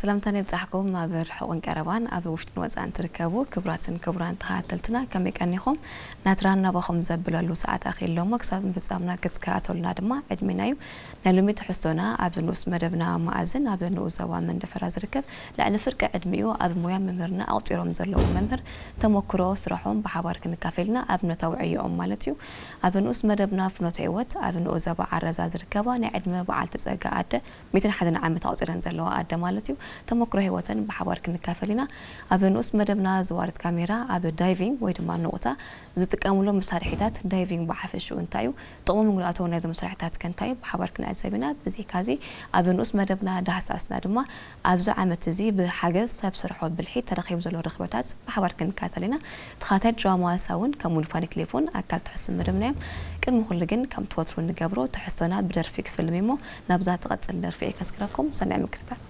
ሰላምታና ይብጻሕኩም። ኣብ ርሑቕን ቀረባን፣ ኣብ ውሽጥን ወጻእን ትርከቡ ክቡራትን ክቡራን ተኸታተልትና፣ ከመይ ቀኒኹም? ናትራን ናባኹም ዘብለሉ ሰዓት ኣኺሉ እሞ፣ ክሳብ ምፍጻምና ክትከታተሉና ድማ ዕድሜና እዩ። ናይ ሎሚ ትሕዝቶና ኣብ ንኡስ መደብና መኣዝን ኣብ ንኡስ ዞባ መንደፈራ ዝርከብ ልዕሊ ፍርቂ ዕድሚኡ ኣብ ሞያ መምህርና ኣቑጺሮም ዘለዉ መምህር ተመክሮ ስራሖም ብሓባር ክንካፈልና ኣብ ነተውዕዮኦም ማለት እዩ። ኣብ ንኡስ መደብና ፍኖተ ህይወት ኣብ ንኡስ ዞባ ዓረዛ ዝርከባ ናይ ዕድመ በዓልቲ ጸጋ ኣደ ሚእትን ሓደን ዓመት ኣቑጺረን ዘለዋ ኣደ ማለት እዩ። ተመክሮ ህይወተን ብሓባር ክንካፈል ኢና። ኣብ ንኡስ መደብና ዘዋርድ ካሜራ ኣብ ዳይቪንግ ወይ ድማ ንቑታ ዝጥቀምሎም መሳርሒታት ዳይቪንግ ብሓፈሽኡ እንታይ እዩ? ጥቕሙ ምጉዳእቶ ናይዞም መሳርሒታት ከ እንታይ እዩ? ብሓባር ክንዕዘብ ኢና። ብዘይካዚ ኣብ ንኡስ መደብና ዳህሳስና ድማ ኣብዚ ዓመት እዚ ብሓገዝ ሰብ ሰርሖ ብልሒ ተረኺቡ ዘሎ ርኽበታት ብሓባር ክንከታተል ኢና። ተኻታይ ድራማ ሳውን ከምኡውን ፋኒ ክሊፕ እውን ኣካል ትሕዝቶ መደብና እዮም። ቅድሚ ኩሉ ግን ከምቲ ወትሩ እንገብሮ ትሕዝቶና ብደርፊ ክፍልም እሞ ናብዛ ትቐጽል ደርፊ እየ ከስክረኩም። ሰናይ ምክትታል።